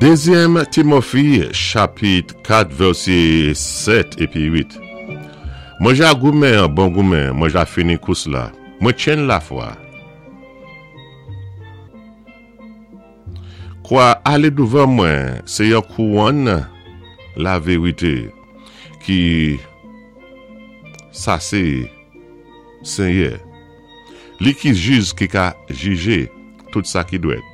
Dézyèm Timofi chapit 4 vèsé 7 épi 8 Mwen ja goumen an bon goumen, mwen ja fini kous la, mwen tchenn lafwa. Kwa ale douvan mwen sé yon kouwonn laverité ki sa sé Senyè, li ki jij ki ka jije tout sa ki dwèt.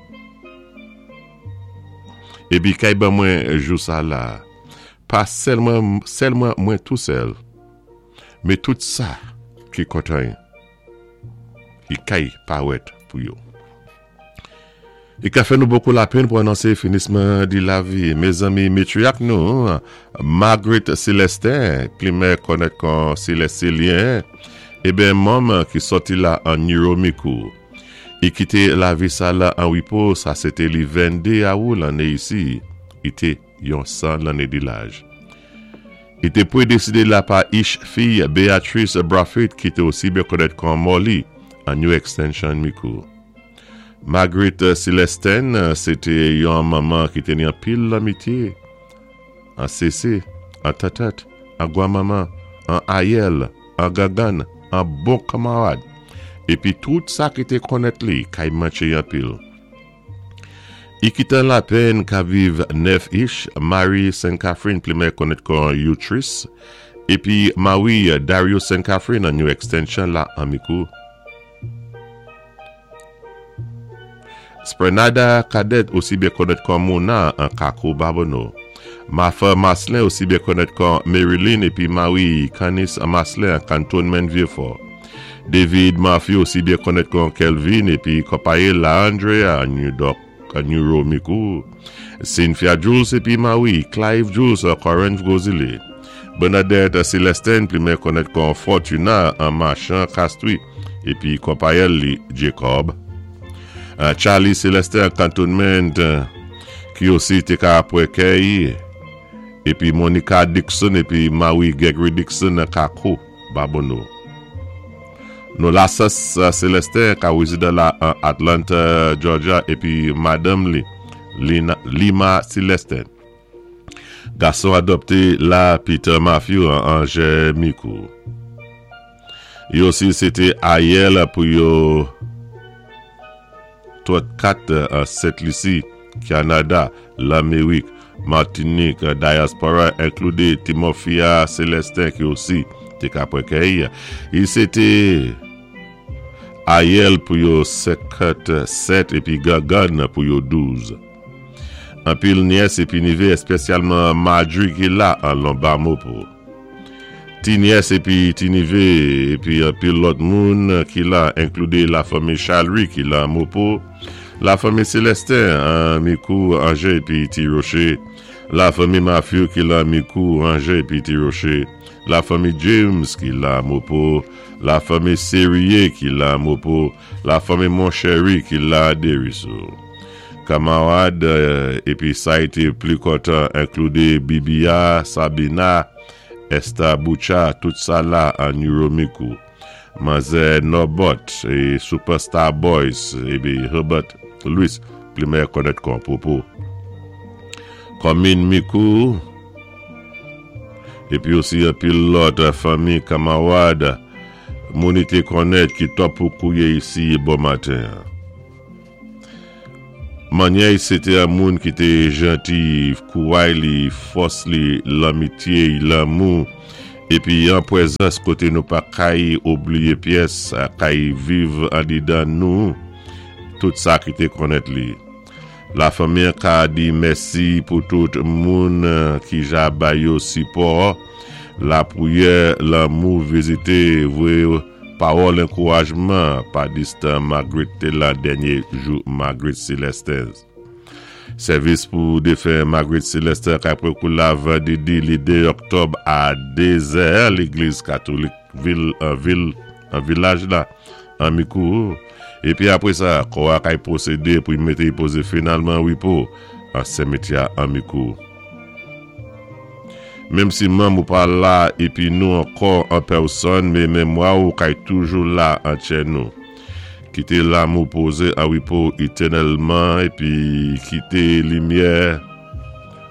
Epi kay ban mwen jou sa la, pa sèlman sèlman mwen tou sèl, men tout sa ki kontan y kay parèt pou yo. I ka fè nou bokou lapenn pou anonse finisman di lavi mezanmi metriak nou Marguerite Celestin plimè kònèt kon Celestilien eben manm ki sòti la an Niromikou i kite lavi sa la an wipo sa se te li 22 awou lanne isi i te yon 100 lanne di laj. I te pwedeside la pa ich fiy Beatrice Brathwaite ki te osi byen konnèt kon Molly an New Extension Mikou. Marguerite Célestin se te yon manman ki te ni anpil lanmitye an sese, an tètèt, an gwanmanman, an ayèl, an gangann, an bon kanmarad. Epi tout sa ki te konnèt li kay mantche anpil. I kitan lapenn ka viv 9 ich, Mari Sen Catherine plimè konnèt kon Utris, epi Mawi Dario Sen Catherine an New Extension la an Mikou. Sprenada Cadet osi byen konnèt kon Mona an Kako Babonneau. Martha Marcelin osi byen konnèt kon Maryline epi Mawi Canis Marcelin an Cantonment Vieux-Fort. David Murphy osi byen konnèt kon Kelvin epi konpaye l la Andrea an New Dok an New Romikou, Cynthia Jules epi Mawi Clive Jules an Corinth Gwo Zile, Bernadette Celestin plimen konnèt kon Fortuna an Machan Castries epi konpayèl li Jacob Charlie Celestin an Cantonment ki osi te ka apwè kèy epi Monica Dixon epi Mawi Gregory Dixon an Kako. Babonneau. Nou Lasas Celestin ka rezidan la an Atlanta, Georgia epi madanm li, Lima Celestin. Gason adopte la Peter Matthew an Angers Micoud. Yo osi se te ayèl pou yo. 34 an Sent Lisi, Kyanada, Lamerik, Martinik, Diaspora enklude Timofia Celestin ki osi te ka pran kèy. I se te Ayèl pou yo 57 epi Gangann pou yo 12. Anpil nyès epi nive espesyalman Marjorie ki la an Lonbamopo. Ti nyès epi ti nive epi anpil lòt moun ki la enklude la fanmi Charles ki la Mopo, la fanmi Celestin an Mikou, Anje epi Ti Roche, la fanmi Matthew ki la Mikou, Anje epi Ti Roche, la fanmi James ki la Mopo, la fanmi Serie ki la Mopo, la fanmi Monchery ki la Deriso. Kamarad epi sa y te pli kontan enklude Bibia, Sabina, Esta Boutcha tout sa la an Neuromikou Manzè Nòbòt e Superstar Boys epi Herbert Louis plimè kònèt kon Popo Kòmin Mikou epi osi anpil lòt fanmi kamarad moun li te kònèt ki tòp pou kouye isi bò maten an. Manyèy se te an moun ki te janti, kouray li, fòs li, lanmitye y, lanmou, epi an pwezans kote nou pa kay obliye pyès kay viv andedan nou tout sa ki te konnèt li. Lafanmi an ka di mèsi pou tout moun ki ja bay yo sipò, lapriyè, lanmou, vizite, voye. Pawòl enkourajman pa distan Margaret te la dènye jou Margaret Celestin. Sèvis pou defen Margaret Celestin kay Prekoula vandredi li 2 oktòb a 2 zè legliz katolik vil an vil an vilaj la an Mikou. Epi apre sa kò a kay pwosede pou y mete y poze finalman repo an sèmetya an Mikou. Menm si manm ou pa la epi nou ankò an pèsòn me memwa ou kay toujou la an tchè nou. Kite lam ou poze an repo etènèlman epi kite limyè.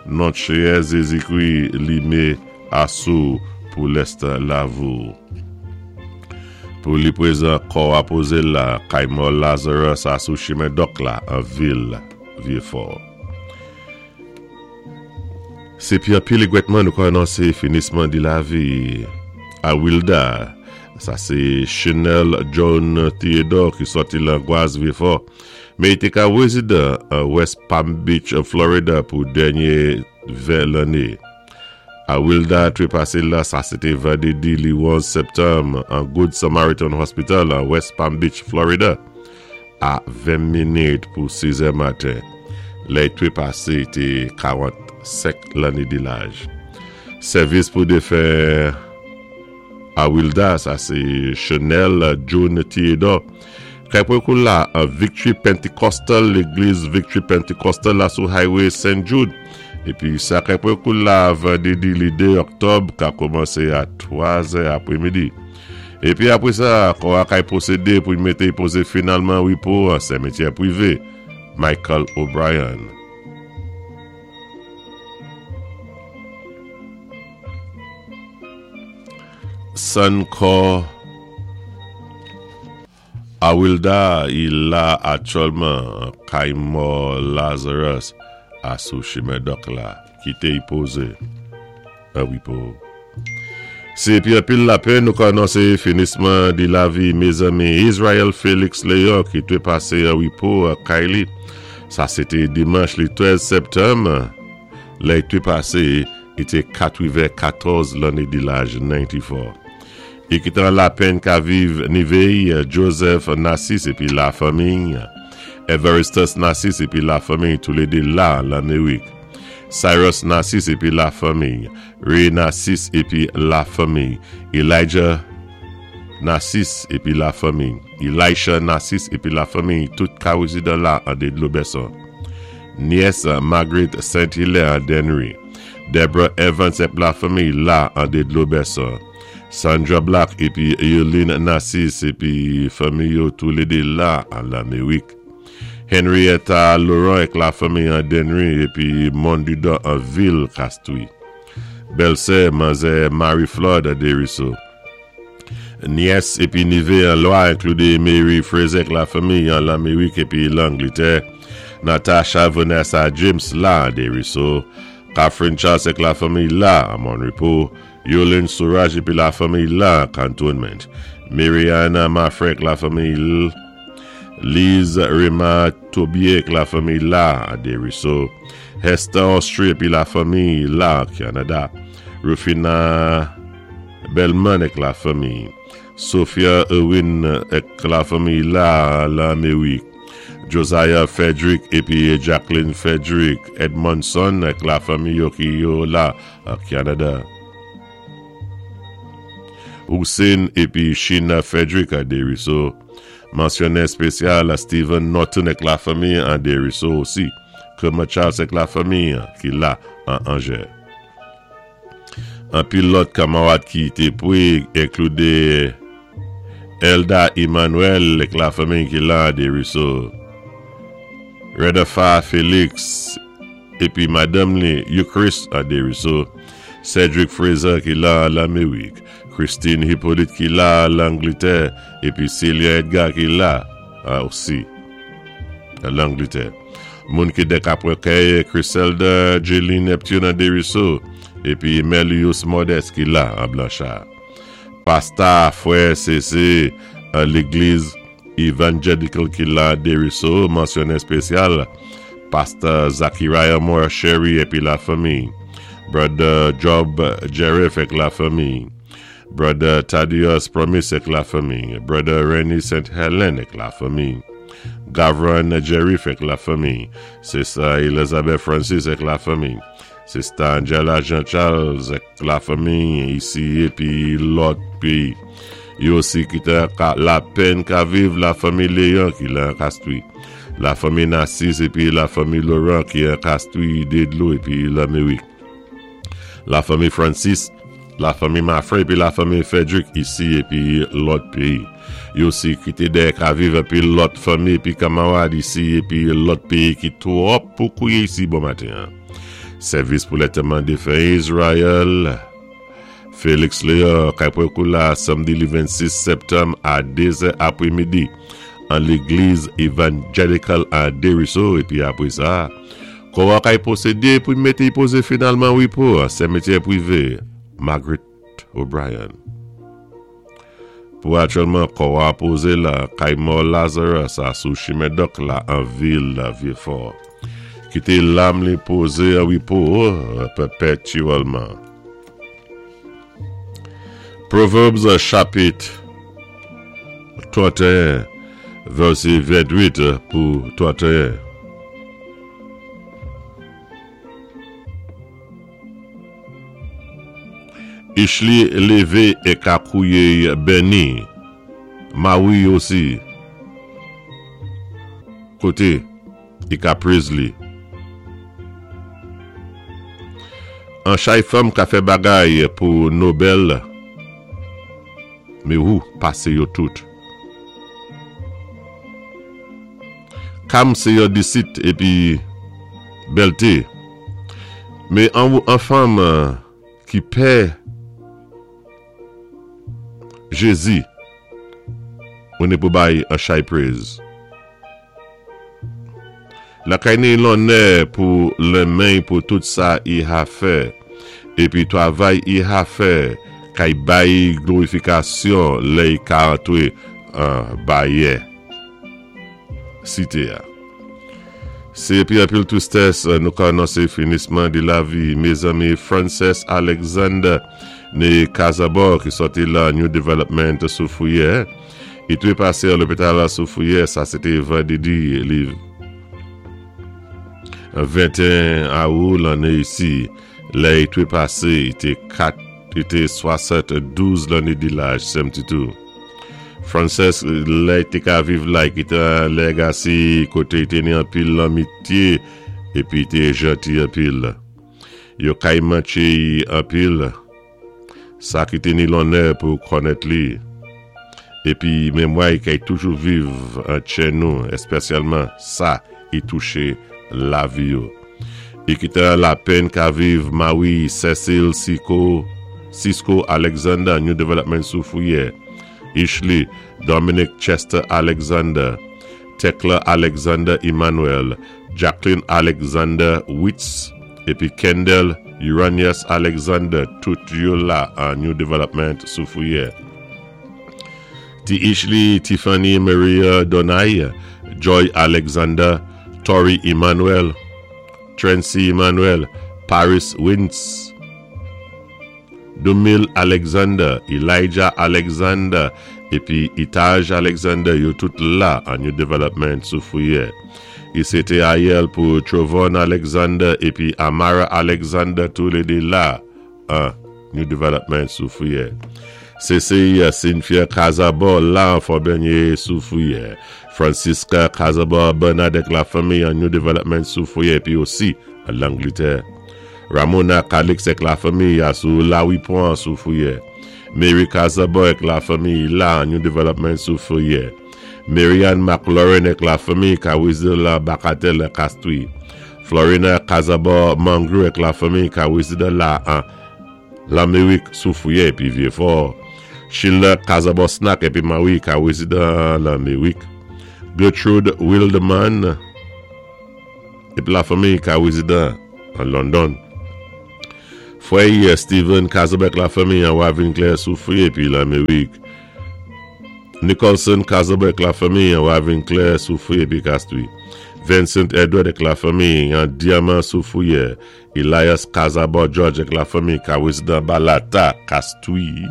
Non Séyè Zézikri li mé asou pou lèstan lavou. Pou li pwézan kò a pozé la kay mò Lazarus asou chimen Dòk la an vil Vyéfò. Sé pi anpil égwètman nou ka anonsé finisman di lavi a Wilda, sa sé Chenel John Theodore ki sòti lan Gwaz Vyéfò, men li té ka wézidan an West Palm Beach, Florida pou dènyé 20 lanné. A Wilda trepase la, sa se te vandredi li 11 septanm an Good Samaritan Hospital an West Palm Beach, Florida, a 20 minit pou 6 è maten. Lè y trepase te 45 lanne de laj. Sèvis pou defen a Wilda, sa se Chenel June Theodore, Kay Prekoul la an Victory Pentecostal, Legliz Victory Pentecostal la sou Highway St. Jude. Epi sa kay Prekoul la vandredi li 2 oktòb ka koumanse a 3 zè apremidi. Epi apre sa, kò a kay pwosede pou y mete y poze finalman repo an sèmetyè prive Michael O'Brien. Sann kò Awilda i la aktyèlman kay mò Lazarus a sou chimen dòk la kite i poze an repo. Se epi anpil lapenn nou ka anonse finisman di lavi mezanmi Israel Felix Leon ki trepase an repo an kay li sa se te dimanch li 13 septanm lè i trepase i te 94 lanne di laj 94. I kitan lapenn ka viv ni véy Joseph Narcisse épi la fanmiy, Evaristus Narcisse épi la fanmiy toulédé la Lanmerik, Cyrus Narcisse épi la fanmiy, Ray Narcisse épi la fanmiy, Elijah Narcisse épi la fanmiy, Elisha Narcisse épi la fanmiy tout ka rézidan la andé dlo Bèson. Nyès Marguerite Saint Hilaire Dennery, Deborah Evans ép la fanmiy la andé dlo Bèson. Sandra Black epi Eulene Narcisse epi fanmi yo toulede la an Lamerik. Henrietta Laurent ek la fanmi an Dennery epi Mondudò an vil Castries. Bèlsè manzè Marie Flood Desruisseaux. Nyès epi nive an lwa enklude Mary Fraser ek la fanmi an Lamerik epi Langlitè. Natasha Vanessa James la an Desruisseaux. Catherine Charles ek la fanmi la an Mon Repos. Yolene Saurage epi la fanmiy la Cantonment. Mariana Maffre ak la fanmiy l. Lise Rema Tobier ak la fanmiy la Desruisseaux. Hester Austrie epi la fanmiy la Canada. Rufina Bellman ak la fanmiy. Sophia Irwin ak la fanmiy la Lamerik. Josiah Frederick epi Jacqueline Frederick Edmondson ak la fanmiy yo ki yo la Canada. Hussein epi Sheena Frederick a Desruisseaux. Mansyonè espesyal Steven Norton ak la fanmi an Desruisseaux osi. Kermit Charles ak la fanmi ki la an Angers. Anpil lòt kamarad ki te pwe enklude Elda Emmanuel ak la fanmi ki la an Desruisseaux. Redafa Felix epi madanm li Euchrist Desruisseaux, Cedric Fraser ki la Lamerik, Christine Hyppolite ki la Langlitè epi Celia Edgar ki la osi Langlitè. Moun ki dèk apre kèy Chriselda Jeline Neptune Desruisseaux epi Melius Modeste ki la an Blanchard. Pasta Frè CC Legliz Evangelical ki la Desruisseaux, Mention espesyal, Pastè Zachariah Moore Chery epi la fanmi, Brother Job Jerif ek la fanmi, Brother Thaddeus Promise ek la fanmi, Brother Renny St. Helen ek la fanmi, Gavron Jerif ek la fanmi, Sister Elizabeth Francis ek la fanmi, Sister Angela Jean Charles ek la fanmi isi epi lòt peyi. Yo osi kite ka lapenn ka viv la fanmi Léon ki lan Castries, la fanmi Narcisse epi la fanmi Laurent ki an Castries, Dedlo epi Lamerik, la fanmi Francis, la fanmi Maffre epi la fanmi Frederick isi epi lòt peyi. Yo osi kite dèyè ka viv anpil lòt fanmi epi kamarad isi epi lòt peyi ki twòp pou kouye isi bon maten an. Sèvis pou lantèman défen Israel Felix Léon kay pran kou la samdi li 26 sèptanm a 2 zè apwé midi an légliz Evangelical a Deriso épi apwé sa kò a kay pwosédé pou mété y pozé finalman repo an sèmetyè pwivé Margaret O'Brien. Pou aktyèlman kò a poze la kay mò Lazarus a sou chimen Dòk la an vil Vyefò. Kite lam li poze an repo pèpètyèlman. Proverbs chapit 31 vèsè 28 pou 31. Ishly leve e ka kouyey Bernie Mawi osi kote i ka praise li An chay fanm ka fè bagay pou Nobel me wou pase yo tout. Kam se yon disit epi bèlte. Me an wou an fanm ki pè Jezi ou ne pou bay an chay prez. Lakay ni lonnè pou lenmeny pou tout sa i ha fè, epi twavay i ha fè kay bay glorifikasyon lè i ka antre an bayè site a. Se epi anpil tristès nou ka anonse finisman de lavi mezanmi Frances Alexander ne Kazabò ki sòti lan New Development Soufriyè. Li te pase an lopital Soufriyè, sa se te vandredi li 21 awou lanne isi. Lè li te pase, li te 4, li te 72 lanne de laj, sèm Titou. Frances, lè li te ka viv la, li kite an Legacy kote li te ni anpil lanmitye epi li te janti anpil. Yo kay mantche li anpil. Sa ki te ni lonnè pou kònèt li. Epi memwa i kay toujou viv an tchè nou, èspèsyalman sa i touche lavi yo. I ki te an lapenn ka viv Mawi Cecil Siko Cisco Alexander New Development Soufrière Ishley Dominic Chester Alexander Thecla Alexander Emmanuel Jacqueline Alexander Witz Epi Kendall Uranius Alexander tout yo la an New Development Soufrière. Ti Ishley Tiffany Maria Donay, Joy Alexander, Tory Emmanuel, Trancy Emmanuel, Paris Wintz, Dumil Alexander, Elijah Alexander epi Itaj Alexander yo tout la an New Development Soufrière. I se te ayèl pou Trovon Alexander epi Amara Alexander tou le 2 la an New Development Soufrière. CCI Cynthia Cazaubon la an Fort-Bernier Soufrière. Francisca Cazaubon Bernard ak la fanmi an New Development Soufrière epi osi an Langletè. Ramona Calix ek la fanmi a sou Lawipon an Soufrière. Mary Cazaubon ek la fanmi la an New Development Soufrière. Marianne McLaurin ek la fanmi ka rezidan la Bacatel an Castries. Florina Cazaubon Mangru ek la fanmi ka rezidan la an Lamerik Soufrière epi Vieux-Fort. Sheila Cazaubon Snack epi Marie ka rezidan Lamerik. Gertrude Wildeman Epi la fanmi ka rezidan an London. Frè Steven Cazaubon ak la fanmi an Ravin Claire soufri epi Lamerik. Nicholson Cazaubon ak la fanmi an Ravin Claire soufri epi Castries. Vincent Edward ak la fanmi an Diamant Soufrière. Elias Cazaubon George ak la fanmi ka rezidan Balata, Castries.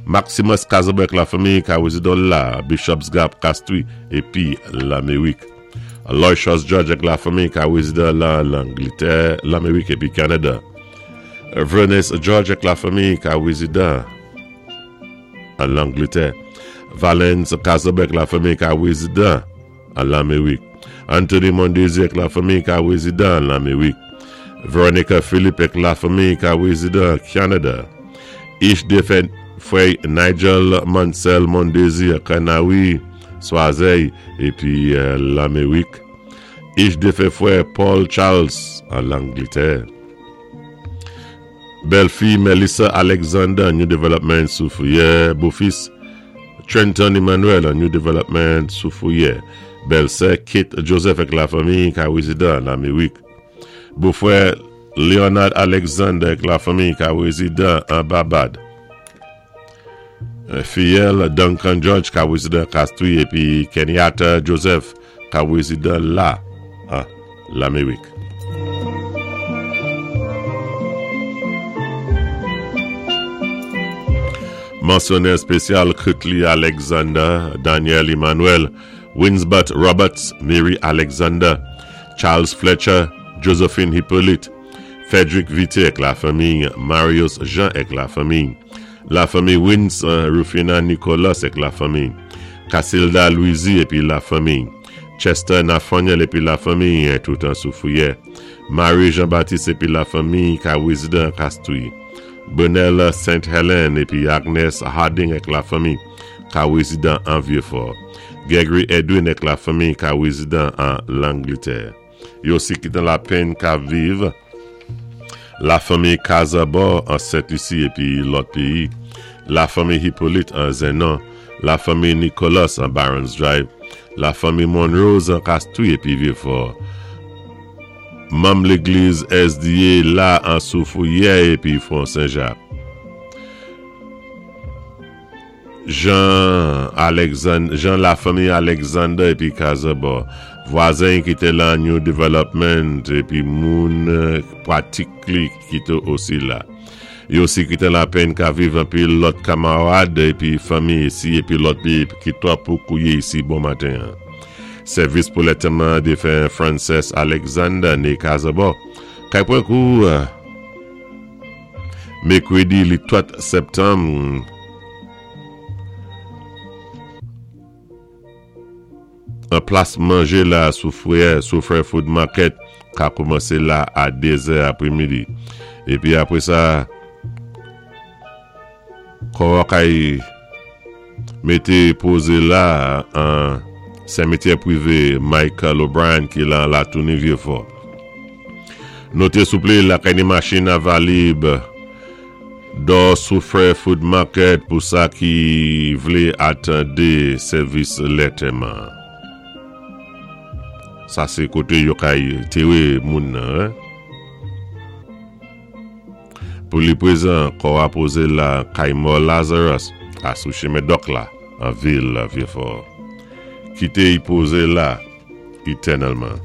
Maximus Cazaubon ak la fanmi ka rezidan la Bishop's Gap, Castries epi Lamerik. Aloysius George ak la fanmi ka rezidan lan Langlitè, Lamerik epi Kanada. Vernice George ak la fanmi ka rezidan an Langletè. Valens Cazaubon ak la fanmi ka rezidan an Lamerik. Anthony Mondesir ak la fanmi ka rezidan an Lamerik. Veronica Philippe ak la fanmi ka rezidan Kanada. Ish defen frè Nigel Mansell Mondesir Kanawi Swazèy epi Lamerik. Ish defen frè Paul Charles an Langletè. Bèlfi Melissa Alexander New Development Soufrière, bofis Trenton Emmanuel New Development Soufrière, bèlsè Kate Joseph ak lafanmi ka rezidan Lamerik, bofrè Leonard Alexander ak lafanmi ka rezidan an Babad. Fiyèl Duncan George ka rezidan Castries epi Kenyatta Joseph ka rezidan la an Lamerik. Mansyonè espesyal Curtly Alexander, Daniel Emmanuel, Winsbert Roberts, Mary Alexander, Charles Fletcher, Josephine Hyppolite, Frederick Vité ak lafanmi, Marius Jean ak lafanmi, lafanmi Wins, Rufina Nicolas ak lafanmi, Casilda Louisy epi lafanmi, Chester Nathaniel epi lafanmi, toutan Soufrière, Marie Jean Baptiste epi lafanmi ka rezidan Castries, Bernel Saint Helen epi Agnes Harding ak lafanmi ka rezidan an Vieux-Fort, Gregory Edwin ak lafanmi ka rezidan an Langletè. Yo si ki nan lapenn ka viv Lafanmi Kazabò an Sent Lisi epi lòt peyi Lafanmi Hyppolite an Zennon Lafanmi Nicholas an Barons Drive Lafanmi Monrose an Kastri epi Vyefò Manm legliz SDA la an Soufriyè epi Fon Sen Jak. Jean Alexand Jean Lafanmi Alexander epi Kazabò, vwazen ki te lan New Development epi moun pratik li ki te osi la. Yo osi ki te lapenn ka viv anpil lòt kamarad epi fanmi isi epi lòt peyi ki twòp pou kouye isi bon maten an. Sèvis pou lètèman defen Frances Alexander née Kazabò kay pran kou. Mekredi li 4 septanm an plas manje la sou frè sou frè food market ka koumanse la a 2 zè apremidi epi apre sa kò a kay Mete poze la an Sèmetyè prive Michael O'Brien ki lan Latouni Vyefò. Note souple lakay ni machin a valib dò sou frè Food Market pou sa ki vle atande sèvis lètèman. Sa se kote yo kay tere moun nan. Pou li prezan, kò a poze la kay mò Lazarus a sou chemen Dòk la an vil Vyefò. Kite y poze la etènèlman.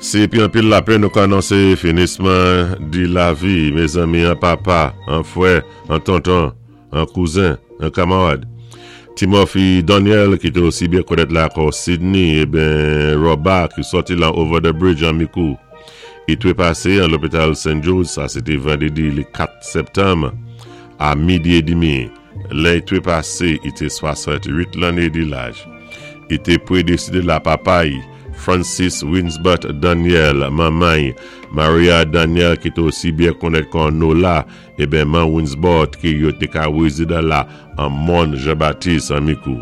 Se epi anpil lapenn nou ka anonse finisman di lavi mezanmi an papa, an frè, an tonton. An kouzen, an kamarad. Timothy Daniel ki te osi byen konèt la kò Sidney eben Roba ki sòti lan Over the Bridge an Mikou. I trepase an lopital St. Jude sa se te vandredi le 4 septanm a midi edimi. Lè i trepase i te 68 lanne di laj. I te predeside la papa i, Francis Winsbert Daniel, manman i, Maria Daniel ki te osi byen konèt kò Nola Eben man Winsbort ki yo te ka rezidan la an Mòn Jan Batis an Mikou.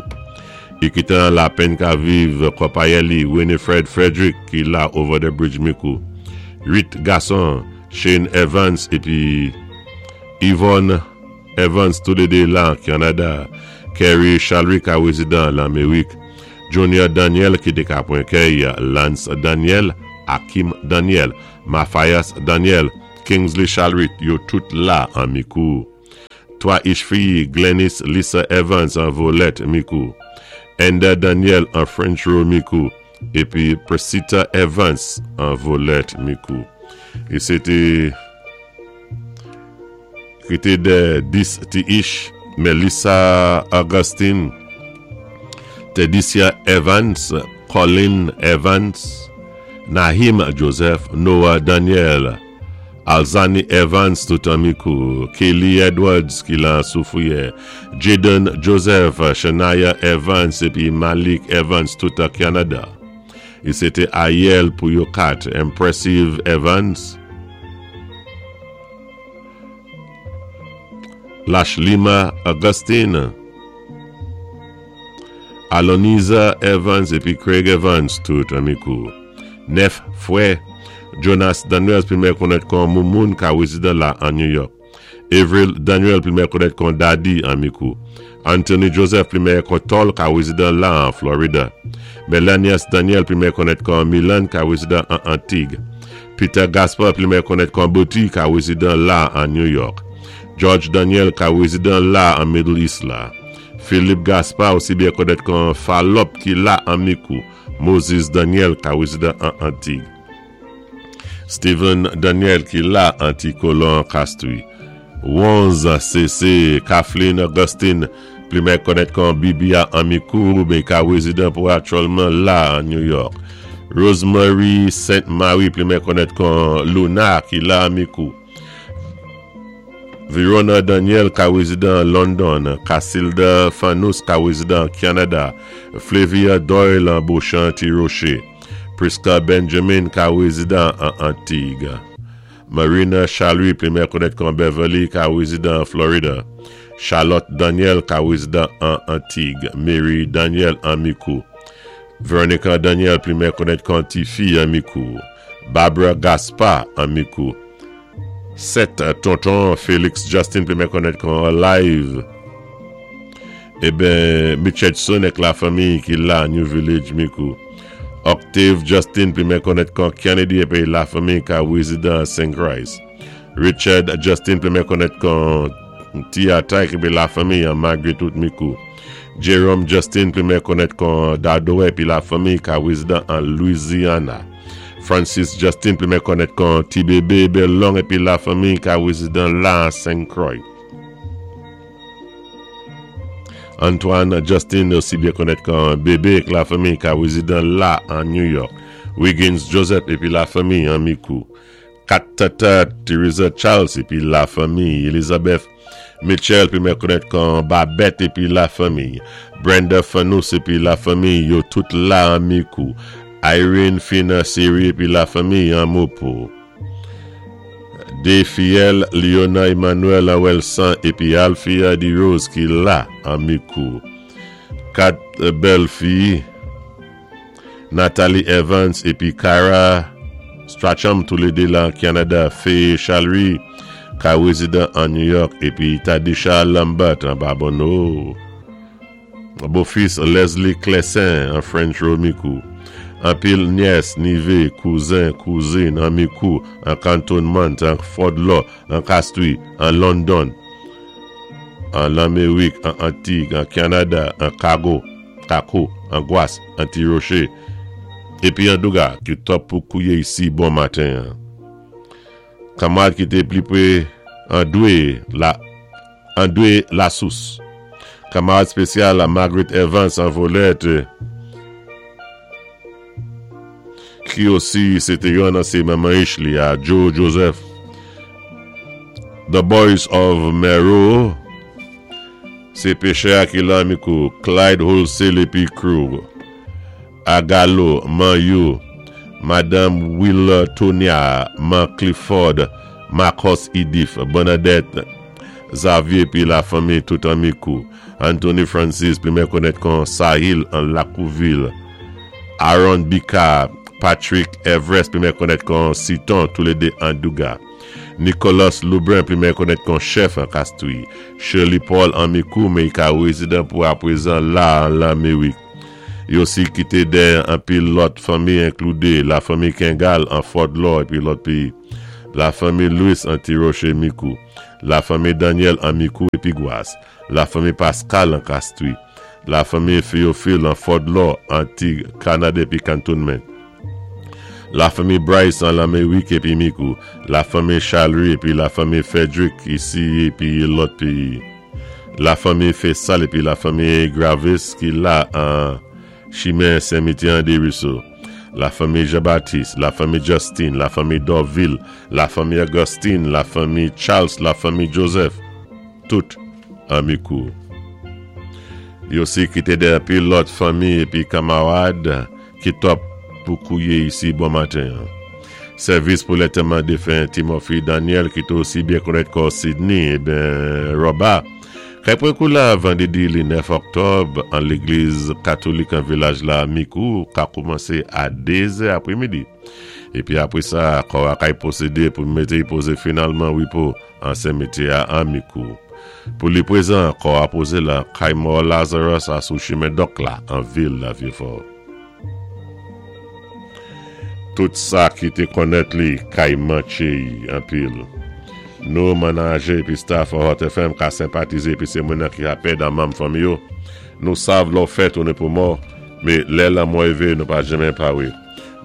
I ki tan lapenn ka viv konpayè li Winifred Frederick ki la Over the Bridge Mikou. 8 gason Shane Evans epi Yvonne Evans toulede la an Kanada. Kerry Chalry ka rezidan Lanmerik. Junior Daniel ki te ka pwen kèy Lance Daniel, Akim Daniel, Mathias Daniel, Kingsley Chalrit yo tout la an Mikou. 3 ich fi Glennis Lisa Evans an Volèt Mikou. Ender Daniel an French Row Mikou epi Presita Evans an Volèt Mikou. E se te ki te dè 10 ti ich Melissa Augustine, Tedicia Evans, Colin Evans, Nahim Joseph, Noah Daniel, Alzani Evans tout an Mikou, Kelly Edwards ki lan Soufrière, Jaden Joseph, Shania Evans epi Malik Evans tout an Canada. E se te Ayel pou yo 4, Impressive Evans, Lashlima Augustine, Aloniza Evans epi Craig Evans tout an Mikou. 9 frè, Jonas Daniels pli mèyè konnèt kon Moumoun ka wézidan la an New York. Avril Daniel pli mèyè konnèt kon Daddy an Mikou. Anthony Joseph pli mèyè kon Tòl ka wézidan la an Florida. Melanias Daniel pli mèyè konnèt kon Milan ka wézidan an Antig. Peter Gaspard pli mèyè konnèt kon Boti ka wézidan la an New York. George Daniel ka wézidan la an Middle East la. Philippe Gaspard osi byen konnèt kon Falòp ki la an Mikou. Moses Daniel ka wézidan an Antig. Steven Daniel ki la an ti kolon Castries. Wonz CC Kathleen Augustine pli mè konnèt kon Bibi a an Mikou men ka wézidan pou aktyèlman la an New York. Rosemary Saint Marie pli mè konnèt kon Luna ki la an Mikou. Verona Daniel ka wézidan an London. Casilda Fanous ka wézidan an Canada. Flavia Doyle an Beauchamp Ti Rocher. Prisca Benjamin ka wézidan an Antig. Marina Chalouis pli mè konnèt kon Beverly ka wézidan an Florida. Charlotte Daniel ka wézidan an Antig. Mary Daniel an Mikou. Veronica Daniel pli mè konnèt kon Tifi an Mikou. Barbara Gaspard an Mikou. 7 tonton Felix Justin pli mè konnèt kon Alive. Eben Mitchedson ek la fanmiy ki la New Village Mikou. Octave Justin pli mè konnèt kon Kennedy epi la fanmiy ka rezidan St. Christ. Richard Justin pli mè konnèt kon Ti Attack epi la fanmiy an Margaret Out Mikou. Jerome Justin pli mè konnèt kon Dado epi la fanmiy ka rezidan an Louisiana. Francis Justin pli mè konnèt kon Ti Bebe Belong epi la fanmiy ka rezidan la St. Croix. Antoine Justin osi byen konnèt kon Bebe ek la fanmiy ka rezidan la an New York. Wiggins Joseph epi la fanmiy an Mikou. 4 tata Theresa Charles epi la fanmiy Elizabeth Mitchell pi mè konnèt kon Babette epi la fanmiy Brenda Fanous epi la fanmiy yo tout la an Mikou. Irene Fina Seri epi la fanmiy an Mopo. 2 fiyèl Liona Emmanuel an Wèlsan epi Alphia Derose ki la an Mikou. 4 bèl fi Nathalie Evans epi Kyra Stracham toulede la an Canada, Faye Chalry ka rezidan an New York epi Tadisha Lambert an Babonneau. Bofis Leslie Clessin an French Row Mikou. Anpil nyès, nive, kouzen, kouzin an Mikou, an Cantonment, an Fort Law, an Castries, an London, an Lanmerik, an Antig, an Canada, an Kago, Kako, an Gwas, an Ti Roche, epi an Douga ki top pou kouye isi bon maten an. Kanmarad ki te pli pre an dwe la. André Lasous. Kamarad spesyal Margaret Evans an Volette ki osi se te yon ansyen manman-ich li a Joe Joseph. The Boys of Mero se pechè a ki lan mikou Clyde Wholesale epi Crew. Agalo, Man You, Madanm Wiltonia, Man Clifford, Marcos Idif, Bernadette Xavier epi lafanmi tout an mikou, Anthony Francis, pi mè konèt kon Sahil an Lakouvil, Aaron Bika, Patrick Everest, pi mè konèt kon Siton, toulede an Douga, Nicholas Loubrun, pi mè konèt kon Chèf an Kastri, Shirley Paul an Mikou, men i ka rezidan pou aprezan la an Lamerik. Yo si kite dèyè anpil lòt fanmi enkloude la fanmi Kengal an Fort Law epi lòt peyi, la fanmi Louis an Ti Roche Mikou, la fanmi Daniel an Mikou epi Gwas, la fanmi Pascal an Kastri, la fanmi Theophile an Fort Law, Antig, Kanada epi Cantonment, la fanmi Bryce an Lamerik epi Mikou, la fanmi Chalry epi la fanmi Frederick isi epi lòt peyi. La fanmi Fesal epi la fanmi Gravis ki la an chimen Sen Mityan Desruisseaux. La fanmi Jean Baptiste, la fanmi Justin, la fanmi Dorvil, la fanmi Augustine, la fanmi Charles, la fanmi Joseph. Tout an Mikou. Yo si kite dèyè anpil lòt fanmi epi kamarad ki top pou kouye isi bon maten an. Sèvis pou lètèman defen Timothy Daniel ki te osi byen konèt kò Sidney eben Roba kay pran kou la vandredi li 9 oktòb an legliz katolik an vilaj la Mikou ka koumanse a 2 zè apremidi. Épi apwé sa, kò a kay pwosédé pou mété-y pozé finalman wipo an senmityè a an Mikou. Pou li pwézan, kò a pozé lan kay mò Lazarus a sou chimen Dòk la an vil Vyefò. Tout sa ki té konnèt li kay mantché-y anpil. Nou, manajè épi staff Hot FM ka senpatizé épi sé moun-nan ki ha pèd an manm fanmi yo. Nou sav lò fèt ou ni pou mò, mé lè lanmò évé nou pa janmen pawé.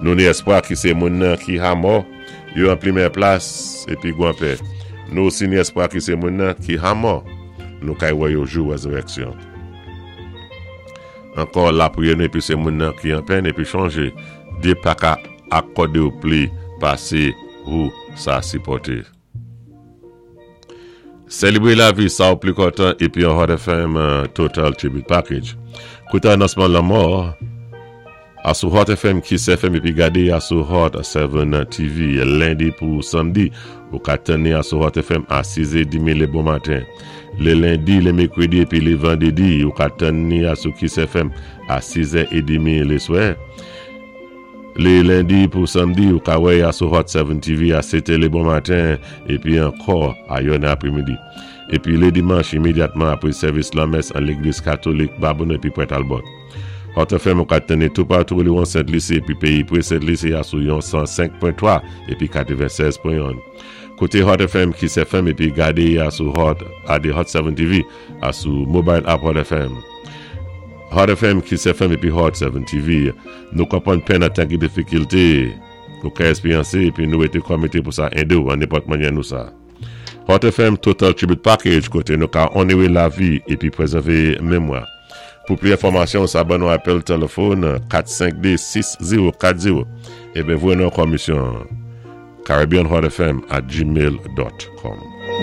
Nou ni èspwa ki sé moun-nan ki ha mò yo an pli mèyè plas épi gwan pè. Nou osi ni èspwa ki sé moun-nan ki ha mò nou kay wè yo jou wèzirèksyon. Ankò lapriyè nou epi se moun nan ki an pèn epi chonje Dye paka akòdew pli pase hou sa sipòte. Selebre lavi sa ou pli kontan epi an Hot FM Total Tribute Package. Koute anonsman lanmò a sou Hot FM, Kiss FM epi gade a sou Hot 7 TV lendi pou samdi. Ou ka tann ni a sou Hot FM a 6 è demi le bon maten. Le lendi, le mekredi epi le vandredi, ou ka tann ni a sou Kiss FM a 6 è edemi le swè. Le lendi pou samdi, ou ka wè a sou Hot 7 TV a 7 è le bon maten epi ankò a yonè apremidi. Epi le dimanch, imedyatman apre sèvis lanmès an legliz katolik Babonneau epi Pwè Talbot. Hot FM ou ka tann ni toupatou lewon Sent Lisi epi peyi pre Sent Lisi a sou yon 105.3 epi 96.1. Koute Hot FM, Kiss FM epi gade a sou Hot ade Hot 7 TV a sou mobile app Hot FM. Hot FM, Kiss FM epi Hot 7 TV. Nou konprann pèn an tan ki difikilte ou ka esperyanse epi nou rete kòmite pou sa ede ou an nenpòt mannyè nou sa. Hot FM Total Tribute Package kote nou ka onere lavi epi prezève memwa. Pou pli enfòmasyon sa ban nou apèl telefòn 452 6040 eben voye nou yon kòmisyon caribbeanhotfm at gmail dot com.